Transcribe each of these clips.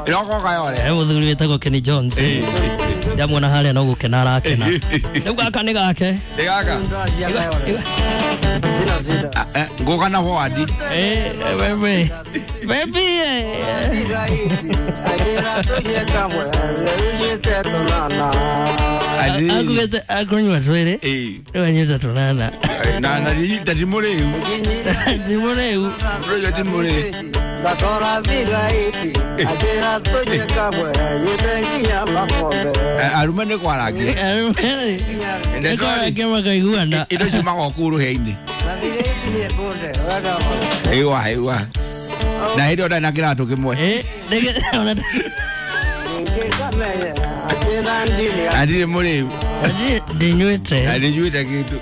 Iroko Kayole. He muthuri witagwo Kenny Jones. Ndamuona haria no gukena arakena. Riu gaka ni gake. Ni gaka. Nguka na forward. Wewe. Baby. Akugete akunywa twere. Riu anyuta tunana. Na na ndimuriu. Ndimuriu. Riu ndimuriu. Arume nĩ kwarangia. Arume nĩ kwarangia makaiguana. Indo icio magoka kũu rũhĩa-inĩ. Ĩwa ĩwa. Na hĩndĩ ĩyo ndarĩ na kĩratũ kĩmwe. Na ndirĩ mũrĩu. Ndinyuĩte. Na ndinyuĩte kĩndũ.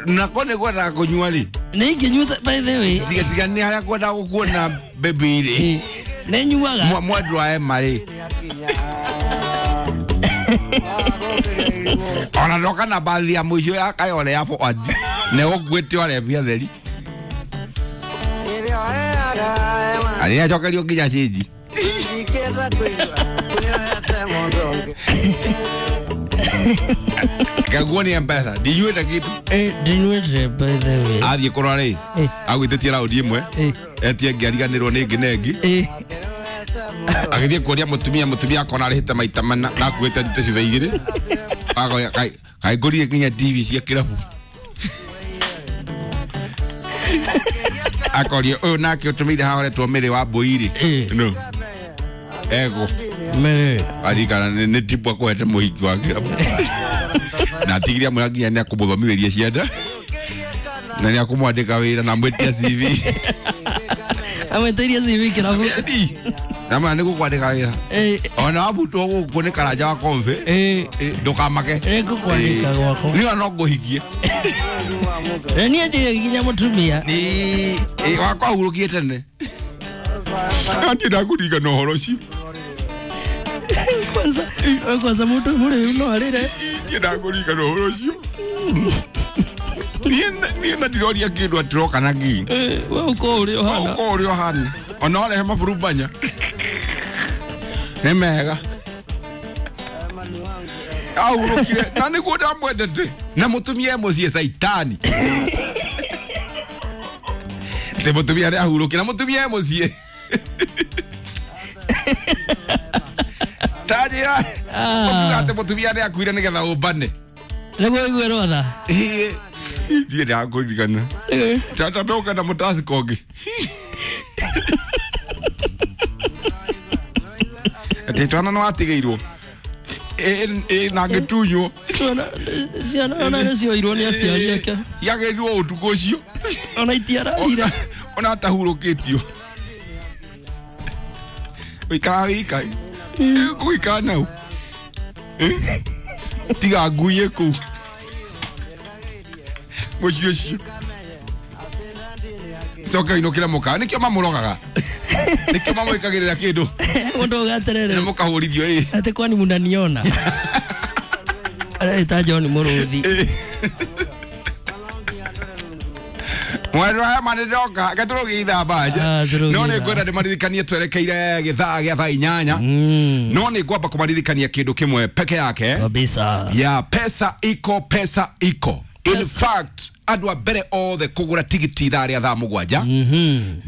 Na ko nĩ kwendaga kũnyua rĩ. Nĩ ingĩnyuĩte by the way. Tiga tiga nĩ harĩa kwendaga gũkuona baby rĩ. Nĩ nyuaga. Mwendwa ema rĩ. Ona ndoka na bathi ya mũico ya Kayole ya forward. Nĩ gũkuĩte ore mbia theri. Arĩa acokerio nginya cĩnji. Kaguo ni M-Pesa. Ndinyuĩte kĩndũ. Ndinyuĩte by the way. Athiĩ kũrora rĩ. Agwĩtĩtie raundi ĩmwe. Etie ĩngĩ ariganĩrwo nĩ ĩngĩ na ĩngĩ. Agĩthiĩ kũria mũtumia mũtumia akona arĩhĩte maita mana na akuĩte tũcibe igĩrĩ. Akoya kaĩ ngũrire nginya TV cia kĩrabu. Akoria ũyũ nake ũtũmĩire haha ũretwo Mĩrĩ wa Mbũi rĩ. No. Ego. Mĩrĩ. Arikana nĩ tipu akũhete mũhiki wa kĩrabu. Na atigire amwĩra nginya nĩ akũmũthomithĩria ciana. Na nĩ akũmwandĩka wĩra na amwĩtia CV. Amwĩtĩirie CV kĩrabu. Na ma nĩ gũkwandĩka wĩra. Ona wabutwo gũkũ nĩ karanja wa kombe. Ndũkamake. Nĩngũkwandĩka gwakwa. Niĩ no ngũhikie. Niĩ ndirĩ nginya mũtumia. Wakwa ahurũkire tene. Niĩ ndakũririkana ũhoro ũcio. Kwanza kwanza mũndũ mũrĩu no arĩre. Niĩ ndakũririkana ũhoro ũcio. Niĩ na ndiroria kĩndũ atĩroka na ngii. We ũkorwo ũrĩ ũhana. Ũkorwo ũrĩ ũhana. Ona warehe maburumbanya. Nĩ mega. Ahurũkire na nĩguo ndamwendete. Na mũtumia e mũciĩ caitani. Te mũtumia arĩa ahurũkire na mũtumia e mũciĩ. Tanjĩra. Ũkiuga atĩ mũtumia nĩ akuire nĩgetha ũmbane. Nĩguo ũigue rwatha. Niĩ ndakũririkana. Tata ndoka na mũtaciko ũngĩ. Atĩ twana nĩ watigĩirwo. Na ngĩtunywo. Ciana ona nĩ cioirwo nĩ aciari ake. Yagĩrirwo ũtukũ ũcio. Ona itiararire. Ona atahurũkĩtio. Ũikaraga wika. Gũikara nau. Tiga ngui kũu. Mũciĩ ũcio. Coka inũkĩre mũkawa. Nĩkĩo mamũrogaga. Nĩkĩo mamwĩkagĩrĩra kĩndũ. Mũndũ ũgaterere. Na mũkahũrithio ĩ. Atĩ kwani mũnaniona. Areta John Mũrũthi. Mwendwa aya ma nĩndoka reke tũrũgie ithaa banja. No nĩ ngwenda ndĩmaririkanie twerekeire gĩthaa gĩa thaa inyanya. No nĩ ngwamba kũmaririkania kĩndũ kĩmwe peke yake. Kabisa. Ya pesa iko pesa iko. In fact, andũ a mbere othe kũgũra tigiti ithaa rĩa thaa mũgwanja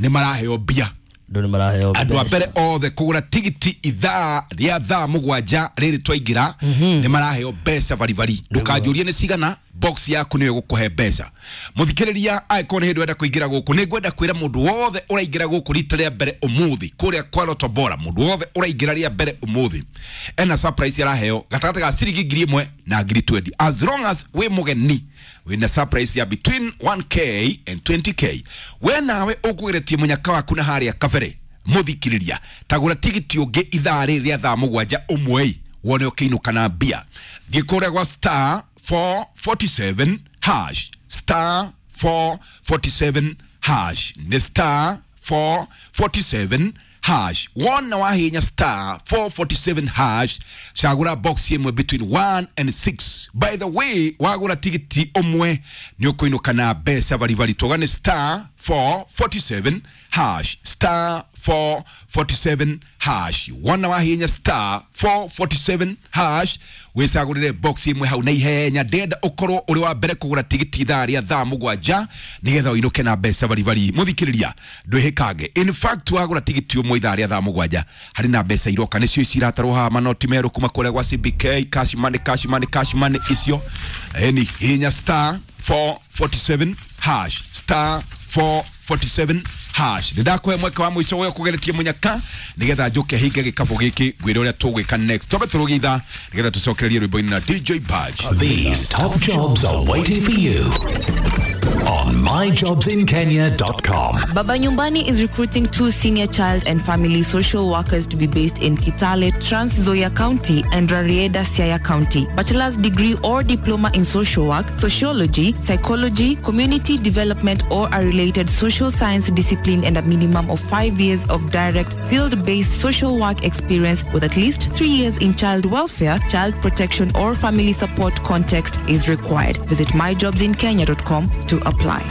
nĩ maraheo mbia. Andũ a mbere othe kũgũra tigiti ithaa rĩa thaa mũgwanja rĩrĩ twaingĩra nĩ maraheo mbeca baribari. Ndũkanjũrie nĩ cigana, box yaku nĩyo ĩgũkũhe mbeca. Mũthikĩrĩria angĩkorwo nĩ hĩndĩ ũrenda kũingĩra gũkũ, nĩ ngwenda kwĩra mũndũ wothe ũraingĩra gũkũ rita rĩa mbere ũmũthĩ kũrĩa kwa Lotto Bora, mũndũ wothe ũraingĩra rĩa mbere ũmũthĩ ena surprise araheo gatagatĩ ga ciringi 1,000 na 20,000. As long as wĩ mũgeni wĩna surprise ya between 1k and 20k. We nawe ũkũgeretie mũnyaka waku na harĩa kabere mũthikĩrĩria tagũra tigiti ũngĩ ithaa rĩrĩ rĩa thaa mũgwanja ũmwe wone ũkĩinũka na mbia. Thiĩ kũrĩa gwa star 447 hash star 447 hash nĩ star 447 hash. Wona wahinya star 447 hash cagũra box ĩmwe between 1 and 6. By the way, wagũra tigiti ũmwe nĩ ũkũinũka na mbeca baribari. Tũgane star 447 hash, star 447 hash. Wona wahinya star 447 hash wicagurire box imwe hau na ihenya. Ndenda ukorwo uri wa mbere kugura tigiti ithaa ria thaa 7 nigetha uinuke na mbeca baribari. Muthikiriria ndwihikange, in fact wagura tigiti umwe ithaa ria thaa 7 hari na mbeca iroka, nicio ici iratarwo haha manoti meru kuma kuria gwa CBK, cash money, cash money, cash money icio. Eni hinya star 447 hash, star 447 hash. Ndakũhe mweke wa mũico ũyũ kũgeretie mũnyaka nĩgetha njũke hinge gĩkabũ gĩkĩ ngwĩre ũrĩa tũgwĩka next. Twambe tũrũgie ithaa nĩgetha tũcokererie rwĩmbo-inĩ na DJ Badge. These top jobs are waiting for you on myjobsinkenya.com. Baba Nyumbani is recruiting 2 senior child and family social workers to be based in Kitale, Trans Nzoia County and Rarieda, Siaya County. Bachelor's degree or diploma in social work, sociology, psychology, community development or a related social science discipline, and a minimum of 5 years of direct field-based social work experience with at least 3 years in child welfare, child protection or family support context is required. Visit myjobsinkenya.com to apply.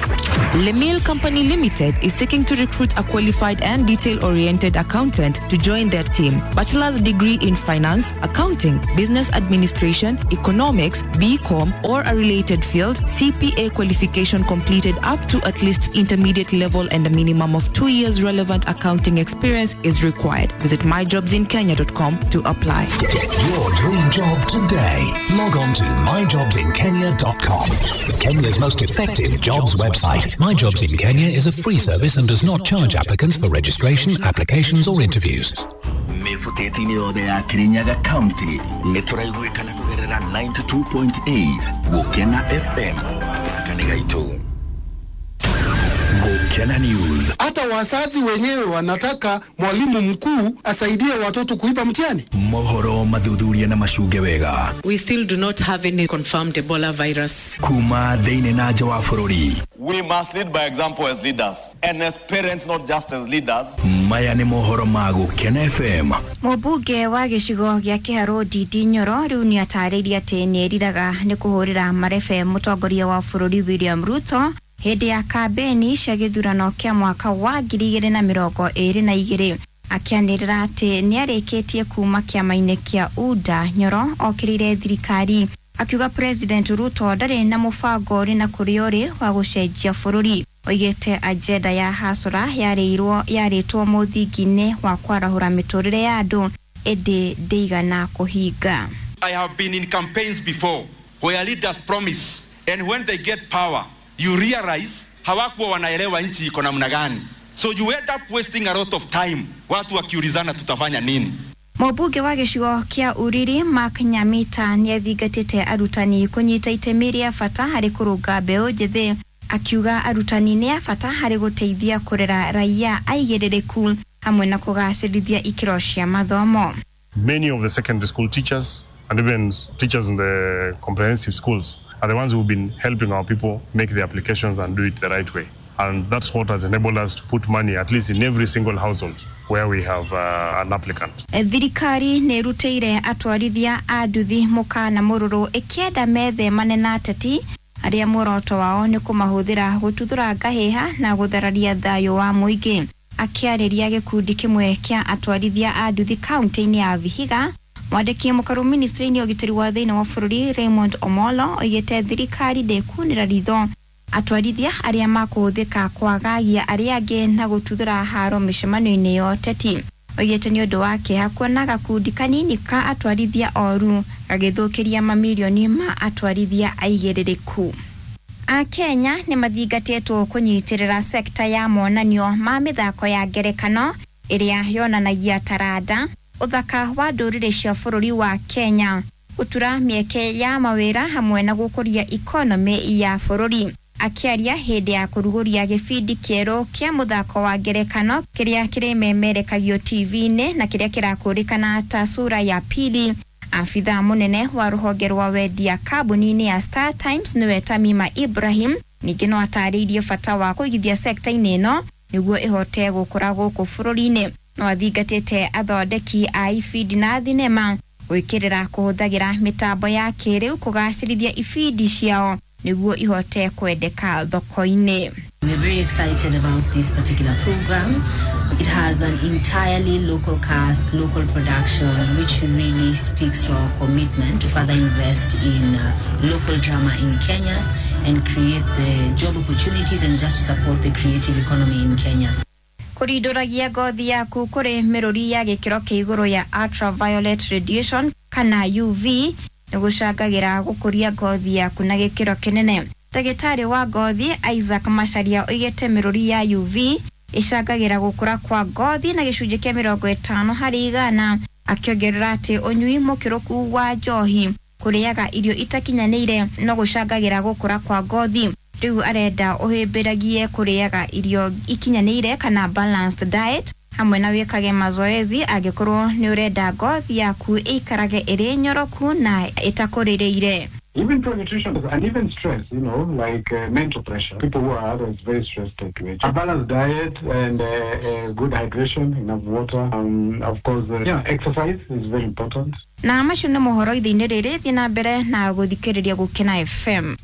Lemil Company Limited is seeking to recruit a qualified and detail-oriented accountant to join their team. Bachelor's degree in finance, accounting, business administration, economics, BCom, or a related field, CPA qualification completed up to at least intermediate level and a minimum of 2 years relevant accounting experience is required. Visit myjobsinkenya.com to apply. Get your dream job today. Log on to myjobsinkenya.com. Kenya's most effective jobs website. My Jobs in Kenya is a free service and does not charge applicants for registration, applications or interviews. Mĩbuteti-inĩ yothe ya Kirinyaga County nĩ tũraiguĩkana kũgerera 92.8 Gũkena FM gaka nĩ gaitũ. Gũkena News. Hata wazazi wenyewe wanataka mwalimu mkuu asaidie watoto kuiba mtihani. Mohoro mathuthuria na macunge wega. We still do not have any confirmed Ebola virus. Kuma thĩinĩ na nja wa bũrũri. We must lead by example as leaders and as parents, not just as leaders. Maya nĩ mohoro ma Gũkena FM. Mũmbunge wa gĩcigo gĩa Kĩharũ Ndindi Nyoro rĩu nĩ atarĩirie atĩ nĩ eriraga nĩ kũhũrĩra marebe mũtongoria wa bũrũri William Ruto hĩndĩ ya kambeni cia gĩthurano kĩa mwaka wa 2022, akĩanĩrĩra atĩ nĩarĩkĩtie kuma kĩama-inĩ kĩa UDA. Nyoro okĩrĩire thirikari akiuga President Ruto ndarĩ na mũbango ũrĩ na kũrĩa ũrĩ wa gũcenjia bũrũri. Oigĩte agenda ya hasora yarĩtwo mũthingi-inĩ wa kwarahũra mĩtũrĩre ya andũ ĩndĩ ndĩigana kũhinga. I have been in campaigns before where leaders promise and when they get power you realize hawakuwa wanaelewa nchi iko namna gani. So you end up wasting a lot of time watu wakiulizana tutafanya nini. Mũmbunge wa gĩcigo kĩa Uriri Mark Nyamita nĩathingatĩte arutani kũnyita itemi rĩa bata harĩ kũrũnga mbeũ njĩthĩ, akiuga arutani nĩ a bata harĩ gũteithia kũrera raia aigĩrĩrĩku hamwe na kũgacĩrithia ikĩro cia mathomo. Many of the secondary school teachers and even teachers in the comprehensive schools are the ones who've been helping our people make the applications and do it the right way. And that's what has enabled us to put money at least in every single household where we have an applicant. Thirikari nĩ ĩrutĩire atwarithia a nduthi mũkana mũrũrũ ĩkĩenda methemane na ateti arĩa muoroto wao nĩ kũmahũthĩra gũtuthũra ngahĩha na gũthararia thayũ wa mũingĩ. Akĩarĩria gĩkundi kĩmwe kĩa atwarithia a nduthi kaunti-inĩ ya Vihiga, mwandĩki mũkaru ministry-inĩ ya ũgitĩri wa thĩinĩ wa bũrũri Raymond Omolo oigĩte thirikari ndĩkunĩra ritho atwarithia arĩa makũhũthĩka kwagagia arĩa angĩ na gũtuthũra haro mĩcemanio-inĩ ya ũteti. Oigĩte nĩ ũndũ wa kĩeha kuona gakundi kanini ka atwarithia oru gagĩthũkĩria mamirioni ma atwarithia aigĩrĩrĩku. Akenya nĩ mathingatĩtwo kũnyitĩrĩra sekta ya monanio ma mĩthako ya ngerekano ĩrĩa yonanagia taranda, ũthaka wa ndũrĩrĩ cia bũrũri wa Kenya, gũtura mĩeke ya mawĩra hamwe na gũkũria ikonomĩ ya bũrũri. Akĩaria hĩndĩ ya kũrugũria gĩbindi kĩerũ kĩa mũthako wa ngerekano kĩrĩa kĩrĩmemerekagio TV-inĩ na kĩrĩa kĩrakũrĩkana ta Sura ya Pili, afitha mũnene wa rũhonge rwa wendia kambuni-inĩ ya Star Times nĩwe Tamima Ibrahim ningĩ no atarĩirie bata wa kũigithia sekta-inĩ ĩno nĩguo ĩhote gũkũra gũkũ bũrũri-inĩ. No athingatĩte athondeki a ibindi na thinema gwĩkĩrĩra kũhũthagĩra mĩtambo ya kĩrĩu kũgacĩrithia ibindi ciao nĩguo ihote kwendeka thoko-inĩ. We're very excited about this particular program. It has an entirely local cast, local production, which really speaks to our commitment to further invest in local drama in Kenya and create the job opportunities and just to support the creative economy in Kenya. Kũrindũragia ngothi yaku kũrĩ mĩrũri ya gĩkĩro kĩa igũrũ ya ultraviolet radiation kana UV nĩ gũcangagĩra gũkũria ngothi yaku na gĩkĩro kĩnene. Ndagĩtarĩ wa ngothi Isaac Macharia oigĩte mĩrũri ya UV ĩcangagĩra gũkũra kwa ngothi na gĩcunjĩ kĩa 50%, akĩongerera atĩ ũnyui mũkĩrũku wa njohi, kũrĩaga irio itakinyanĩire no gũcangagĩra gũkũra kwa ngothi. Rĩu arenda ũhĩmbĩragie kũrĩaga irio ikinyanĩire kana balanced diet hamwe na wĩkage mazoezi angĩkorwo nĩ ũrenda ngothi yaku ĩikarage ĩrĩ nyoroku na ĩtakũrĩrĩire. Even poor nutrition and even stress, you know, like mental pressure. People who are otherwise very stressed tend to age. A balanced diet and good hydration, enough water. Of course, exercise is very important. Na macio nĩ mohoro ithe-inĩ rĩrĩ, thiĩ na mbere na gũthikĩrĩria Gũkena FM.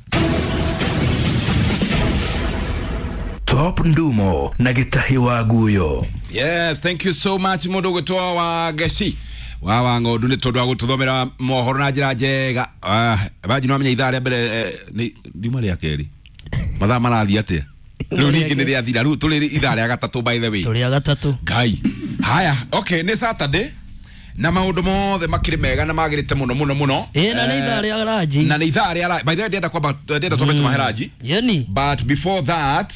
Top Ndumo na Gĩtahi wa Guyo. Yes, thank you so much mũndũ ũgwĩtwo wa Ngeci wa ng'ondu nĩ tondũ wa gũtũthomera mohoro na njĩra njega. Banji no amenya ithaa rĩa mbere nĩ riuma rĩa kerĩ, mathaa marathiĩ atĩa rĩu ningĩ nĩ rĩathira, rĩu tũrĩ ithaa rĩa gatatũ, by the way tũrĩ a gatatũ. Ngai haya, okay, nĩ Saturday na maũndũ mothe makĩrĩ mega na magĩrĩte mũno mũno mũno. Ĩ, na nĩ ithaa rĩa ranji, na nĩ ithaa rĩa, by the way ndĩrenda kwamba ndĩrenda twambe tũmahe ranji. Yeni. But before that,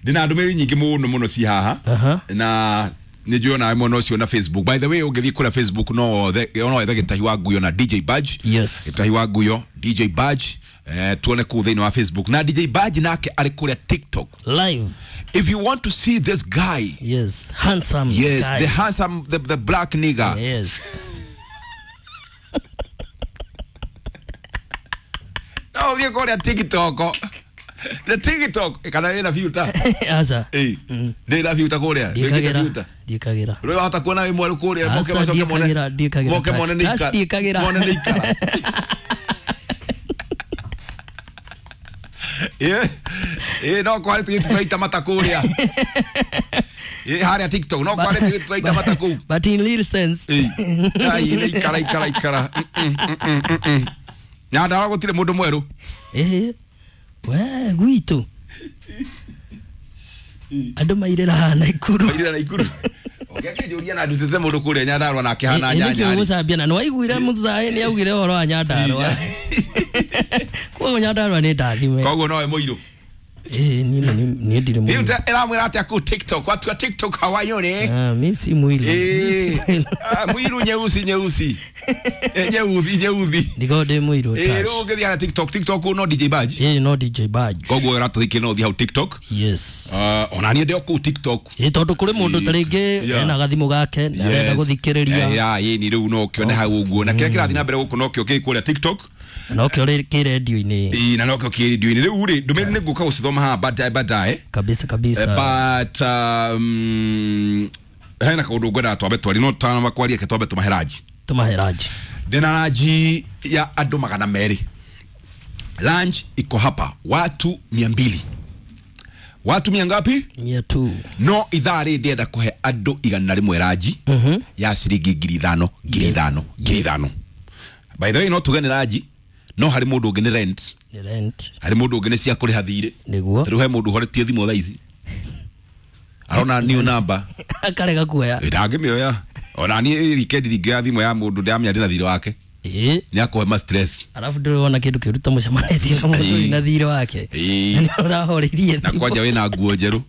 ndĩna ndũmĩrĩri nyingĩ mũno mũno ci haha na nĩ njũĩ onawe mwena ũcio na Facebook. By the way, ũngĩthiĩ kũrĩa Facebook no wethe Gĩtahi wa Nguyo na DJ Badge. Yes. Gĩtahi wa Nguyo, DJ Badge, tuone kũu thĩinĩ wa Facebook. Na DJ Badge nake arĩ kũrĩa TikTok live. If you want to see this guy, yes, handsome, yes, guy. The handsome, the black nigger, yes. No, ũthiĩ kũrĩa TikTok. The TikTok kana ĩna filter. Aca. Ĩ. Ndĩ filter kũrĩa. Ndĩkagĩra. Ndĩkagĩra. Rĩu wahota kuona wĩ mwerũ kũrĩa moke macoke mone. Ndĩkagĩra. Moke mone nĩ ikara. Ndĩkagĩra. Mone nĩ ikara. Ĩ. Ĩ, no kwari tũgĩtũraita mata kũrĩa. Ĩ, harĩa TikTok no kwari tũgĩtũraita mata kũu. But in real sense. Ĩ. Ai, nĩ ikara ikara ikara. Nyandarua gũtirĩ mũndũ mwerũ. Ĩ. We gwitũ andũ mairĩra Naikuru, mairĩra Naikuru. Ũngĩakĩnjũria na ndutĩte mũndũ kũrĩa Nyandarua na akĩhana nyanya. Nĩkĩo gũcambia na nĩwaiguire Mũthaĩ nĩ augire ũhoro wa Nyandarua. Koguo Nyandarua nĩ ndathime. Koguo nowe mũirũ. Ĩ, niĩ ndirĩ mũirũ. Rĩu ĩramwĩra atĩa kũu TikTok? Watu wa TikTok hawaione. Ah, mi si mũirũ. Ĩ, mũirũ nyeusi nyeusi. Nyeuthi nyeuthi. Ndikorwo ndĩ mũirũ. Ĩ, rĩu ũngĩthiĩ harĩa TikTok, TikTok no DJ Badge. Ĩ, no DJ Badge. Koguo ũratũhikia no ũthiĩ hau TikTok. Yes. Ona niĩ ndĩ o kũu TikTok. Ĩ, tondũ kũrĩ mũndũ ta rĩngĩ ena gathimũ gake na arenda gũthikĩrĩria. Ya, ĩ, ni rĩu no ũkĩone hau ũguo. Na kĩrĩa kĩrathiĩ na mbere gũkũ nokĩo kĩ kũrĩa TikTok. Nokĩo kĩ redio-inĩ. Ĩ, na nokĩo kĩ redio-inĩ. Rĩu rĩ, ndũmĩrĩri nĩ ngũka gũcithoma haha baadaye baadaye. Kabisa kabisa. But hena kaũndũ ngwendaga twambe twarie, no tũtanamba kwaria ke twambe tũmahe ranji. Tũmahe ranji. Ndĩna ranji ya andũ 200. Lunch iko hapa watu 200. Watu mia ngapi? 200. No ithaa rĩ ndĩrenda kũhe andũ 100 ranji ya ciringi 5,000, 5,000, 5,000. By the way, no tuge nĩ ranji, no harĩ mũndũ ũngĩ nĩ rent. Nĩ rent. Harĩ mũndũ ũngĩ nĩ cia kũrĩha thirĩ. Nĩguo. Rĩu he mũndũ ũhoretie thimũ thaa ici. Arona new number. Akarega kuoya. Ndangĩmĩoya. Ona niĩ weekend ndingĩoya thimũ ya mũndũ ndĩramenya ndĩna thirĩ wake. Ĩ. Nĩ akũhe ma stress. Alafu ndĩrona kĩndũ kĩũru ta mũcemanĩtie na mũndũ wĩna thirĩ wake. Ĩ. Na ũrahoreirie Na thimũ. kwanja wĩna nguo njerũ.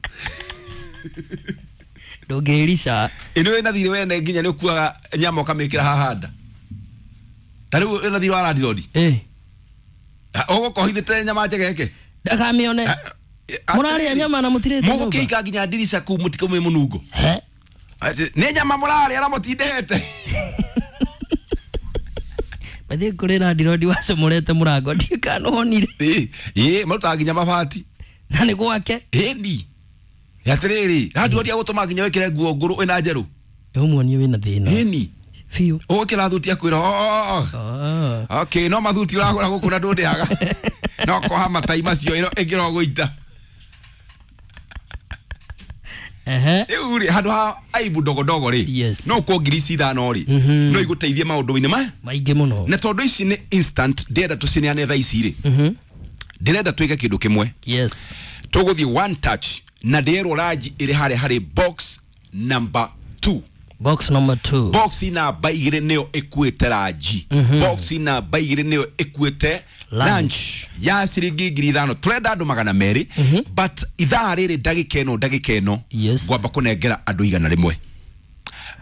Ndũngĩrica. Ĩ, nĩ wĩna thirĩ wene nginya nĩ ũkuaga nyama ũkamĩkĩra haha nda. Ta rĩu wĩna thirĩ wa landlord. Ĩ. Ũgũkohithĩte nyama njegeke. Ndakamĩone. Mũrarĩa nyama na mũtirĩte nyũmba. Mũgũkĩika nginya ndirica kũu mũtikaumie mũnungo. Nĩ nyama mũrarĩa na mũtindĩhete. Bathiĩ kũrĩ landlord wacomorete mũrango ndiũĩ kana nĩwonire. Ĩ, marutaga nginya mabati. Na nĩ gwake. Ĩni. Atĩrĩrĩ, landlord agũtũma nginya wĩkĩre nguo ngũrũ ĩna njerũ. Ũmuonie wĩna thĩna. Ĩni. Biũ. Ũgũkĩra thuti akwĩra, "Oh." Okay, no mathuti ũragũra gũkũ na ndũndĩhaga. No koha matai macio ĩro ĩngĩrogũita. Rĩu rĩ handũ ha aibu ndogo rĩ, no kwa ngiri ici 5 rĩ, no igũteithie maũndũ-inĩ maya maingĩ mũno. Na tondũ ici nĩ instant, ndĩrenda tũcineane thaa ici rĩ, ndĩrenda twĩke kĩndũ kĩmwe. Yes. Tũgũthiĩ one touch na ndĩrerwo ranji ĩrĩ harĩa harĩ box number 2. Box number 2. Box namba 2 nĩyo ĩkuĩte ranji. Box namba 2 nĩyo ĩkuĩte lunch ya ciringi 5,000. Tũrenda andũ 200, but ithaa rĩrĩ ndagĩka ĩno ngwamba kũnengera andũ 100.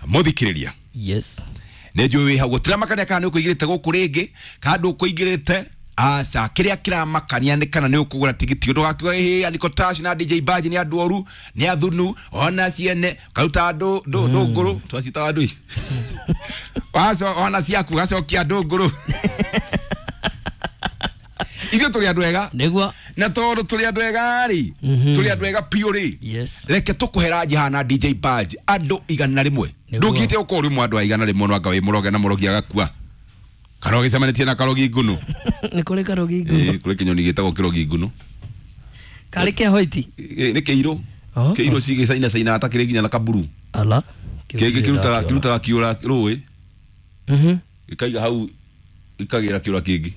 Mũthikĩrĩria. Yes. Nĩ njũĩ wĩ hau gũtiramakania kana nĩ ũkũingĩrĩte gũkũ rĩngĩ kana ndũkũingĩrĩte. Aca kĩrĩa kĩramakania nĩ kana nĩ ũkũgũra tigiti ũndũ wakiuga ĩhĩ Aniko Tash na DJ Baji nĩ andũ oru nĩ athunu ona ciene karuta andũ ndũngũrũ twacitaga andũ ici waco ona ciaku gacokia ndũngũrũ. Ithuĩ tũrĩ andũ ega nĩguo, na tondũ tũrĩ andũ ega rĩ, tũrĩ andũ ega piũ rĩ, reke tũkũhe ranji hana DJ Baji andũ 100. Ndũngĩte ũkorwo ũrĩ ũmwe andũ a 100 no anga wĩ mũroge na mũrogi agakua. Karogi cemanĩtie na karogi ngunu. Nĩ kũrĩ karogi ngunu. Kũrĩ kĩnyoni gĩtagwo kĩrogi ngunu. Karĩ kĩa hoiti? Nĩ kĩirũ. Kĩirũ cigĩcaina caina ta kĩrĩ nginya na kaburu. Ala. Kĩngĩ kĩrutaga kĩũra rũĩ. Gĩkaiga hau gĩkagĩra kĩũra kĩngĩ.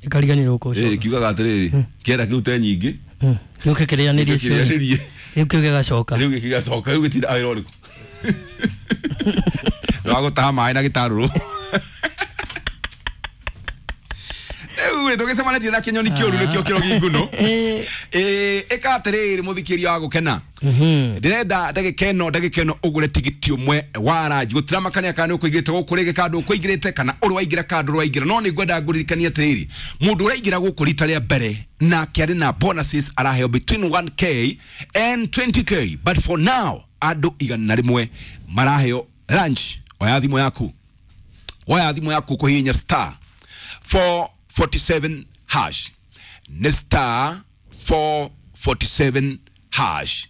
Gĩkariganĩrwo kũcoka. Kiugaga atĩrĩrĩ, kĩenda kĩrute nyingĩ. Gĩũke kĩrĩanĩrie ciothe. Rĩu kĩu gĩgacoka. Rĩu gĩgacoka, rĩu gĩtindaga wĩra ũrĩkũ. Nĩwagũtaha maĩ na gĩtarũrũ. Rĩu ndũgĩcemanĩtie na kĩnyoni kĩũru nĩkĩo kĩrogi ngunu. Ĩka atĩrĩrĩ mũthikĩria wa gũkena. Ndĩrenda ndagĩka ĩno ũgũre tigiti ũmwe wa ranji. Gũtiramakania kana nĩ ũkũingĩrĩte gũkũ rĩngĩ kana ndũkũingĩrĩte kana ũrĩ waingĩra kana ndũrĩ waingĩra. No nĩ ngwenda ngũririkanie atĩrĩrĩ, mũndũ ũraingĩra gũkũ rita rĩa mbere nake arĩ na bonuses araheo between 1k and 20k, but for now andũ 100 maraheo lunch. Oya thimũ yaku, oya thimũ yaku kũhihinya star 447 hash. Nĩ star 447 hash.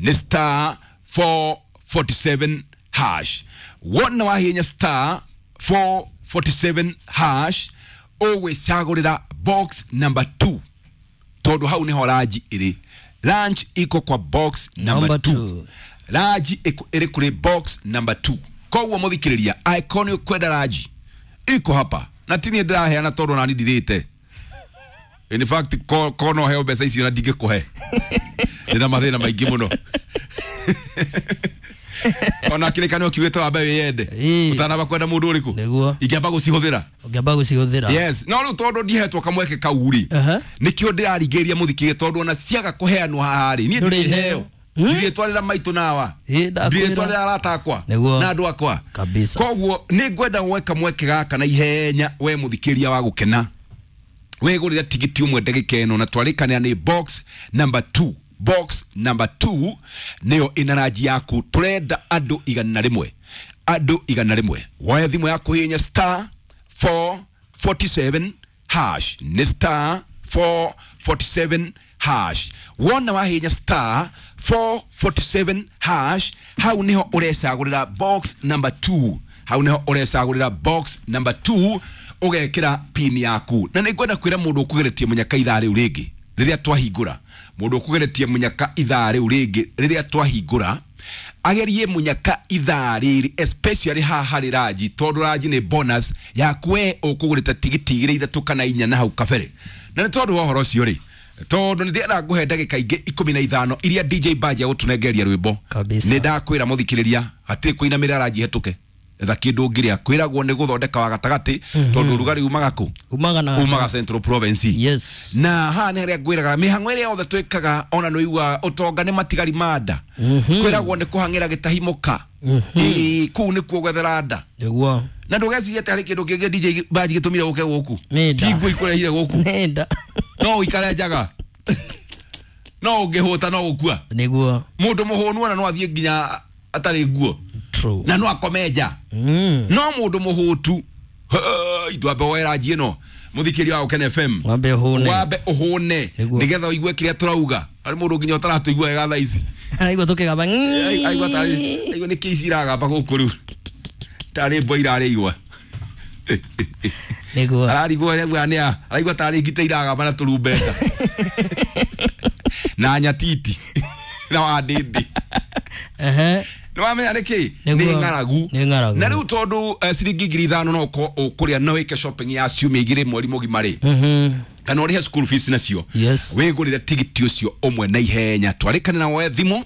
Nĩ star 447 hash. Wona wahihinya star 447 hash ũgwĩcagũrĩra box number 2 tondũ hau nĩho ranji ĩrĩ. Lunch iko kwa box number 2. Ranji ĩrĩ kũrĩ box number 2. Koguo mũthikĩrĩria, angĩkorwo nĩ ũkwenda ranji iko hapa na ti niĩ ndĩraheana tondũ nani ndirĩte. In fact ko no heo mbeca icio na ndingĩkũhe. Ndĩna mathĩna maingĩ mũno. Ona kĩrĩkanĩro kiugĩte wambe wĩyende ũtanamba kwenda mũndũ ũrĩkũ. Nĩguo. Ingĩamba gũcihũthĩra. Ũngĩamba gũcihũthĩra. Yes. No rĩu tondũ ndihetwo kamweke kau rĩ, nĩkĩo ndĩrarigĩria mũthikĩrĩria tondũ ona ciaga kũheanwo haha rĩ, niĩ ndĩheo. Ndirĩtwarĩra maitũ nawa, ndirĩtwarĩra arata akwa na andũ akwa kabisa. Koguo nĩ ngwenda gweka mweke gaka na ihenya we mũthikĩria wa gũkena wĩgũrĩre tigiti ũmwe ndagĩka ĩno na twarĩkanĩra nĩ box number 2. Box number 2 nĩyo ĩna ranji yaku. Tũrenda andũ 100, andũ 100. Woya thimũ yaku hihinya star 447 hash. Nĩ star 447 hash. Wona wahihinya star 447 hash hau niho ũrecagũrĩra box number 2. Hau niho ũrecagũrĩra box number 2 ũgekĩra pin yaku. Na nĩ ngwenda kwĩra mũndũ ũkũgeretie mũnyaka ithaa rĩu rĩngĩ rĩrĩa twahingũra, mũndũ ũkũgeretie mũnyaka ithaa rĩu rĩngĩ rĩrĩa twahingũra agerie mũnyaka ithaa rĩrĩ especially haha harĩ ranji tondũ ranji nĩ bonus yaku we ũkũgũrĩte tigiti 2 3 kana 4 na hau kabere. Na nĩ tondũ wa ũhoro ũcio rĩ, tondũ nĩ ndĩrenda ngũhe ndagĩka ingĩ 15 iria DJ Baji agũtũnengeria rwĩmbo. Nĩ ndakwĩra mũthikĩrĩria hatirĩ kũinamĩrĩra ranji hetũke. Etha kĩndũ ũngĩrĩa kwĩragwo nĩ gũthondeka wa gatagatĩ tondũ ũrugarĩ umaga kũ? Umaga Central Province. Yes. Na haha nĩ harĩa ngwĩraga mĩhang'o ĩrĩa yothe twĩkaga ona nĩ ũiguaga ũtonga nĩ matigari ma nda. Kwĩragwo nĩ kũhang'ĩra gĩtahimũka. Kũu nĩkuo gwethera nda. Nĩguo. Na ndũgecirie atĩ harĩ kĩndũ kĩngĩ DJ Baji gĩtũmire ũke gũkũ. Ti nguo ikũrehire gũkũ. Nĩ nda. No ũikare njaga. No ũngĩhũta no gũkua. Nĩguo. Mũndũ mũhũnu ona no athiĩ nginya atarĩ nguo. True. Na no akome nja. No mũndũ mũhũtu ndwambe woe ranji ĩno mũthikĩria wa Gũkena FM. Wambe ũhũne. Wambe ũhũne nĩgetha ũigue kĩrĩa tũrauga. Harĩ mũndũ nginya ũtaratũigua wega thaa ici. Aigua tũkĩgamba. Aigua tarĩ aigua nĩ kĩ ici iragamba gũkũ rĩu. Tarĩ mbwa irarĩ igwa. Nĩguo. Ararigwo rĩu nĩ araigua tarĩ ngita iragamba na tũrumbeta na nyatiti na wandĩndĩ. Nĩ wamenya nĩkĩ? Nĩ ng'aragu. Nĩ ng'aragu. Na rĩu tondũ ciringi 5,000 no ũkorwo ũkũrĩa no wĩke shopping ya ciumia 2 mweri mũgima rĩ, kana ũrĩhe school fees nacio, wĩgũrĩre tigiti ũcio ũmwe na ihenya. Twarĩkane na woe thimũ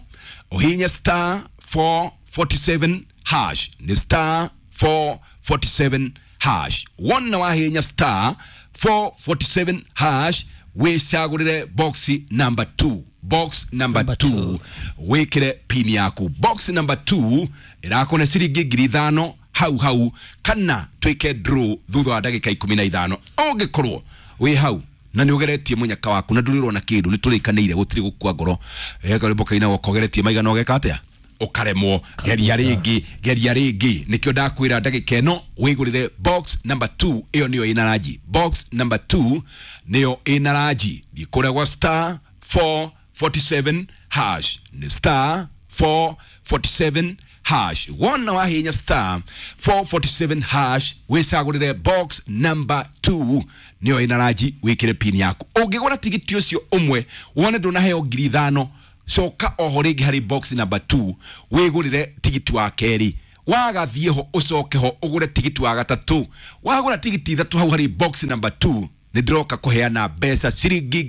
ũhihinye star 447 hash, nĩ star 447 hash. Wona wahihinya star 447 hash wĩcagũrĩre box number 2, box number 2 wĩkĩre pin yaku. Box number 2 ĩrakũne ciringi 5,000 hau hau, kana twĩke draw thutha wa ndagĩka 15. Ũngĩkorwo wĩ hau na nĩ ũgeretie mũnyaka waku na ndũrĩ ũrona kĩndũ, nĩ tũrĩkanĩire gũtirĩ gũkua ngoro. Karwĩmbo kainagwo kogeretie maigana ũgeka atĩa? Ũkaremwo. Geria rĩngĩ, geria rĩngĩ. Nĩkĩo ndakwĩra ndagĩka ĩno wĩgũrĩre box number 2, ĩyo nĩyo ĩna ranji. Box number 2 nĩyo ĩna ranji. Thiĩ kũrĩa gwa star 447 hash, nĩ star 447 hash. Wona wahinya star 447 hash wĩcagũrĩre box number 2 nĩyo ĩna ranji, wĩkĩre pin yaku. Ũngĩgũra tigiti ũcio ũmwe wone ndũnaheo 5,000, coka oho rĩngĩ harĩ box number 2 wĩgũrĩre tigiti wa kerĩ. Wagathiĩ ho ũcoke ho ũgũre tigiti wa gatatũ. Wagũra tigiti 3 hau harĩ box number 2 nĩ ndĩroka kũheana mbeca ciringi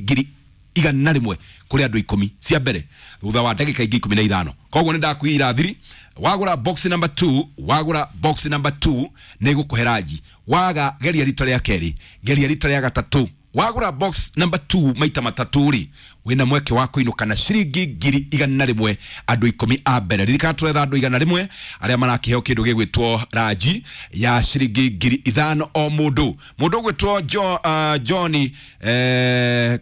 100,000 kũrĩ andũ 10 cia mbere thutha wa ndagĩka ingĩ 15. Koguo nĩ ndakwĩra thiri, wagũra box number 2, wagũra box number 2 nĩ gũkũhe ranji. Waga geria rita rĩa kerĩ, geria rita rĩa gatatũ. Wagũra box number 2 maita matatũ rĩ, wĩna mweke wa kũinũka na ciringi 100,000 andũ 10 a mbere. Ririkana tũretha andũ 100 arĩa marakĩheo kĩndũ gĩgwĩtwo ranji ya ciringi 5,000 o mũndũ. Mũndũ ũgwĩtwo Johnny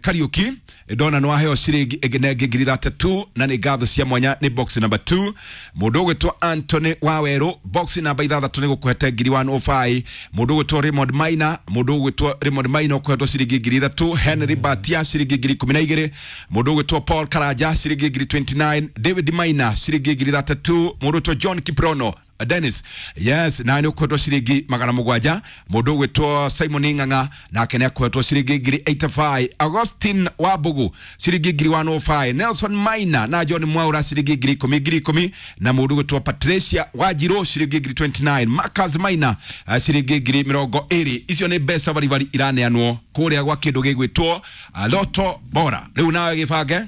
Kariuki ndona nĩ waheo ciringi ĩngĩ na ĩngĩ 3,000 na nĩ ngatho cia mwanya nĩ box number 2. Mũndũ ũgwĩtwo Anthony Wawerũ box number 6 nĩ gũkũhete 1,105. Mũndũ ũgwĩtwo Raymond Maina, mũndũ ũgwĩtwo Raymond Maina ũkũhetwo ciringi 3,000. Henry Batia ciringi 12,000. Mũndũ ũgwĩtwo Paul Karanja ciringi 29,000. David Maina ciringi 3,000. Mũndũ ũgwĩtwo John Kiprono Dennis, yes, na nĩ ũkũhetwo ciringi 700. Mũndũ ũgwĩtwo Simon Ng'ang'a nake nĩ akũhetwo ciringi 85,000. Augustine Wabugu ciringi 105,000. Nelson Maina na John Mwaura ciringi 10,000 na mũndũ ũgwĩtwo Patricia Wajiro ciringi 29,000. Marcus Maina ciringi 20,000. Icio nĩ mbeca baribari iraneanwo kũrĩa gwa kĩndũ gĩgwĩtwo Lotto Bora. Rĩu nawe gĩbange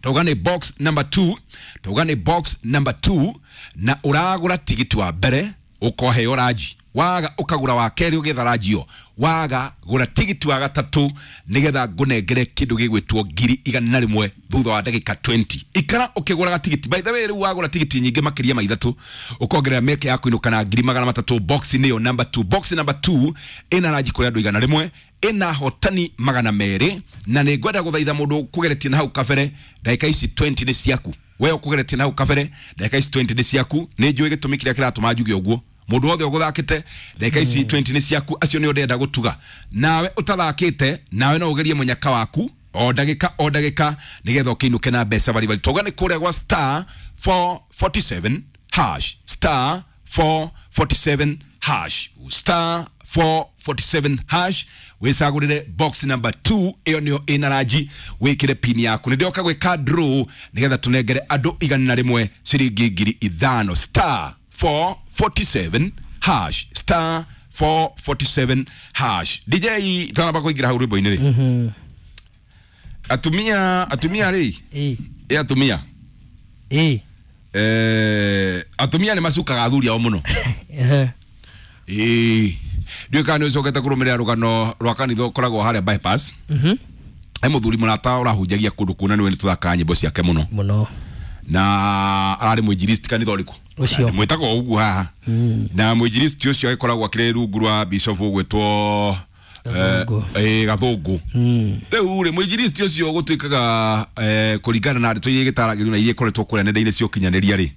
tauga nĩ box number 2, tauga nĩ box number 2 na ũragũra tigiti wa mbere ũkoheo ranji, waga ũkagũra wa kerĩ ũgetha ranji ĩyo, waga gũra tigiti wa gatatũ nĩgetha ngũnengere kĩndũ gĩgwĩtwo 100,000 thutha wa ndagĩka 20. Ikara ũkĩgũraga tigiti. By the way, rĩu wagũra tigiti nyingĩ makĩria ma 3 ũkongerera mĩeke ya kũinũka na 300,000. Box nĩyo number 2, box number 2 ĩna ranji kũrĩ andũ 100, ĩna hotani 200, na nĩ ngwenda gũthaitha mũndũ ũkũgeretie na hau kabere ndagĩka ici 20 nĩ ciaku. We ũkũgeretie na hau kabere ndagĩka ici 20 nĩ ciaku. Nĩ njũĩ gĩtũmi kĩrĩa kĩratũma njuge ũguo. Mũndũ wothe ũgũthakĩte ndagĩka ici 20 nĩ ciaku, acio nĩo ndĩrenda gũtuga. Nawe ũtathakĩte, nawe no ũgerie mũnyaka waku o ndagĩka o ndagĩka nĩgetha ũkĩinũke na mbeca baribari. Tauga nĩ kũrĩa gwa star 447 hash, star 447 hash, star 447 hash wĩcagũrĩre box number 2 ĩyo nĩyo ĩna ranji, wĩkĩre pin yaku. Nĩ ndĩroka gwĩka draw nĩgetha tũnengere andũ 100 ciringi 5,000. Star 447 hash, star 447 hash. DJ tanamba kũingĩra hau rwĩmbo-inĩ rĩ, atumia rĩ, ĩ atumia atumia nĩ macukaga athuri ao mũno. Ĩĩ, ndiũĩ kana nĩ ũcokete kũrũmĩrĩra rũgano rwa kanitha ũkoragwo harĩa bypass. He mũthuri mũrata ũrahunjagia kũndũ kũna, nĩwe nĩ tũthakaga nyĩmbo ciake mũno mũno, na ararĩ mwinjilisti kanitha ũrĩkũ ũcio mwĩtagwo ũguo haha, na mwinjilisti ũcio agĩkoragwo akĩrĩ rungu rwa bishop ũgwĩtwo Gathũngũ. Rĩu rĩ, mwinjilisti ũcio gũtuĩkaga kũringana na ndeto iria igĩtaragĩrio na iria ikoretwo kũrĩa nenda-inĩ cia ũkinyanĩria rĩ,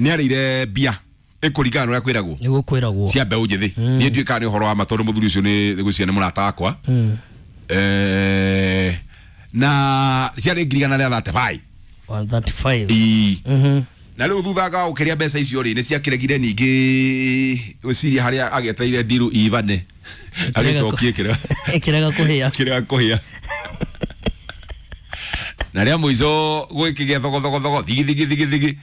nĩ arĩire mbia ĩkũringana na ũrĩa kwĩragwo, nĩguo kwĩragwo cia mbeũ njĩthĩ. Niĩ ndiũĩ kana nĩ ũhoro wa ma tondũ mũthuri ũcio nĩ ngwĩciria nĩ mũrata wakwa, na ciarĩ 135,000. 135. Na Na rĩu thutha ga gũkĩria mbeca icio rĩ nĩ ciakĩregire ningĩ gwĩciria harĩa agĩetereire ndiru ivane agĩcokie kĩrĩa ĩkĩrega kũhĩa kĩrĩa kũhĩa na rĩa mũico gwĩkĩgĩa thogothogo thigi thigi thigi thigi.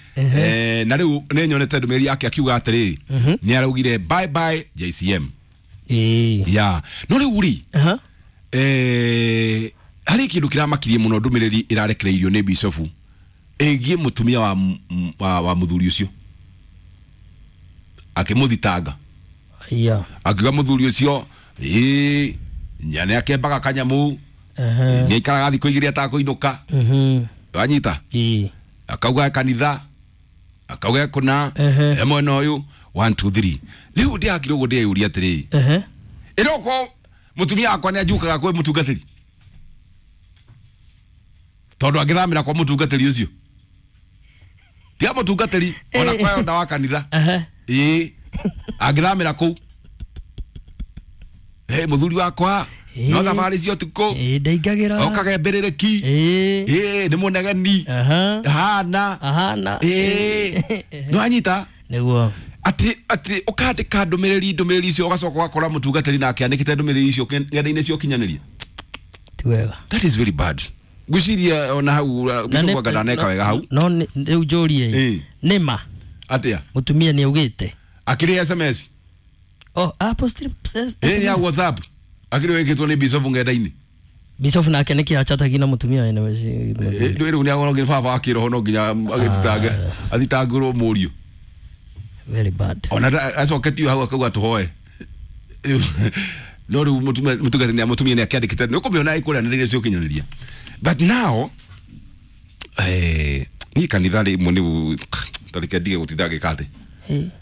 Na rĩu nĩ nyonete ndũmĩrĩri yake akiuga atĩrĩrĩ nĩ araugire bye bye JCM. Ya no rĩu rĩ harĩ kĩndũ kĩramakirie mũno ndũmĩrĩri ĩrarekereirio nĩ bishofu ĩgiĩ mũtumia wa mũthuri ũcio akĩmũthitanga. Akiuga mũthuri ũcio ĩĩ nĩ akĩambaga kanyamũ nĩ aikaraga thikũ igĩrĩ atakũinũka. Wanyita akauga kanitha akauga kũna e mwena ũyũ 1 2 3. Rĩu ndĩrakire ũguo ndĩyũria atĩrĩrĩ ĩroko mũtumia wakwa nĩ anjukaga kwĩ mũtungatĩri tondũ angĩthamĩra kwa mũtungatĩri ũcio tiga mũtungatĩri ona kwa onda wa kanitha ĩĩ angĩthamĩra kũu mũthuri wakwa no thabarĩ cia ũtukũ ndaingagĩra okage mbĩrĩrĩki ĩĩ nĩ mũnegeni ahana ĩĩ nĩwanyita nĩguo atĩ ũkandĩka ndũmĩrĩri icio ũgacoka ũgakora mũtungatĩri nake andĩkĩte ndũmĩrĩri icio ng'enda-inĩ cia ũkinyanĩria. Ti wega. That is very bad. Ngwĩciria ona hau bishop anga ndaneka wega hau. No rĩu njũrie nĩ ma atĩa mũtumia nĩ augĩte akĩrĩ SMS oh apostle ya WhatsApp akĩrĩ wĩkĩtwo nĩ bishop ng'enda-inĩ. Bishop nake nĩkĩ achatagi na mũtumia wene rĩu nĩ agorwo baba wa kĩroho no nginya agĩthitange athitangĩrwo mũriũ. Very bad. Ona acoketio hau akauga tũhoe no rĩu mũtumia nĩ akĩandĩkĩte nĩ ũkũmĩona ĩkũrĩa nenda-inĩ cia ũkinyanĩria. But now niĩ kanitha rĩmwe nĩ tareke ndige gũtinda ngĩka atĩ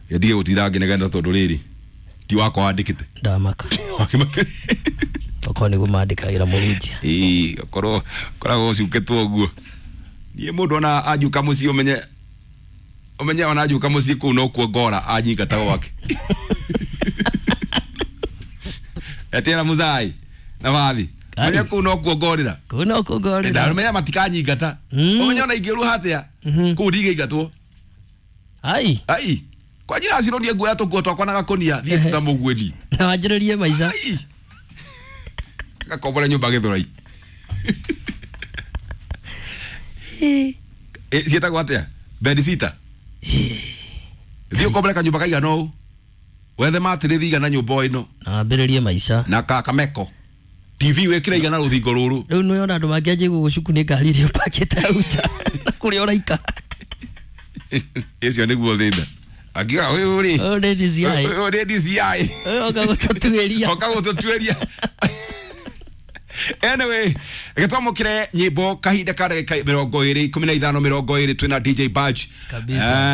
ndige gũtinda ngĩnegena tondũ rĩrĩ ti wakwa wandĩkĩte ndamaka okorwo nĩguo mandĩkagĩra mũhunjia. Ĩĩ okorwo koragwo ũcukĩtwo ũguo niĩ mũndũ ona anjuka mũciĩ ũmenye ona anjuka mũciĩ kũu nokuo ngora anyingata gwake etera muzai na bathi menye kũu nokuo ngorĩra kũu nokuo ngorĩra na ũmenye matikanyingata ũmenye ona ingĩruha atĩa kũu ndigĩingatwo. Ai ai kwa njĩra ciro ndiĩ nguoya tũkuo twakwa na gakũnia thiĩ na mũguĩni na wanjĩrĩrie maica gakombore nyũmba Gĩthũrai. Ciĩtagwo atĩa bedsitter thiĩ ũkombore kanyũmba kaigana ũũ wethe matĩrĩthi igana nyũmba o ĩno na wambĩrĩrie maica na kameko TV wĩkĩre igana rũthingo rũrũ. Rĩu nĩwona andũ mangĩanjia gũgũcuku nĩ ngari iria ũpakĩte hau nja na kũrĩa ũraikara. Ũcio nĩguo thĩna akiuga ũyũ rĩ ũyũ nĩ DCI ũyũ nĩ DCI ũyũ oka gũtũtuĩria oka gũtũtuĩria. Anyway, gĩtwamũkĩre nyĩmbo kahinda ka ndagĩka 20 15 20 twĩna DJ Badge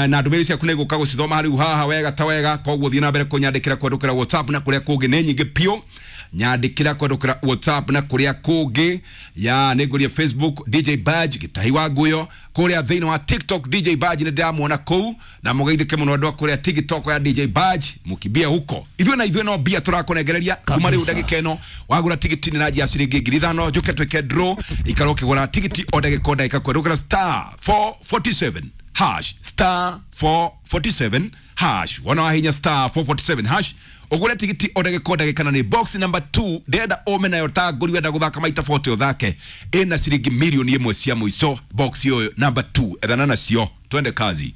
na ndũmĩrĩri ciaku nĩ gũka gũcithoma rĩu haha wega ta wega koguo thiĩ na mbere kũnyandĩkĩra kwendũkĩra WhatsApp na kũrĩa kũngĩ nĩ nyingĩ piũ nyandĩkĩra kwendũkĩra WhatsApp na kũrĩa kũngĩ ya nĩ ngũria Facebook DJ Badge Gĩtahi wa Nguyo kũrĩa thĩinĩ wa TikTok DJ Badge nĩ ndĩramuona kũu na mũgeithĩke mũno andũ a kũrĩa TikTok ya DJ Badge mũkimbie huko ithuĩ na ithuĩ no mbia tũrakũnengereria kuma rĩu ndagĩka ĩno wagũra tigiti nĩ na njia ciringi 5,000 njũke twĩke draw ikara ũkĩgũra tigiti o ndagĩka o ndagĩka kwendũkĩra star 447 hash star 447 hash wona wahinya star 447 hash ũgũre tigiti o ndagĩka o ndagĩka na nĩ box number 2 ndĩrenda ũme nayo ta ngũri wenda gũthaka maita 40 ũthake ĩna ciringi mirioni 1 cia mũico box ũyũ number 2 ethana nacio twende kazi.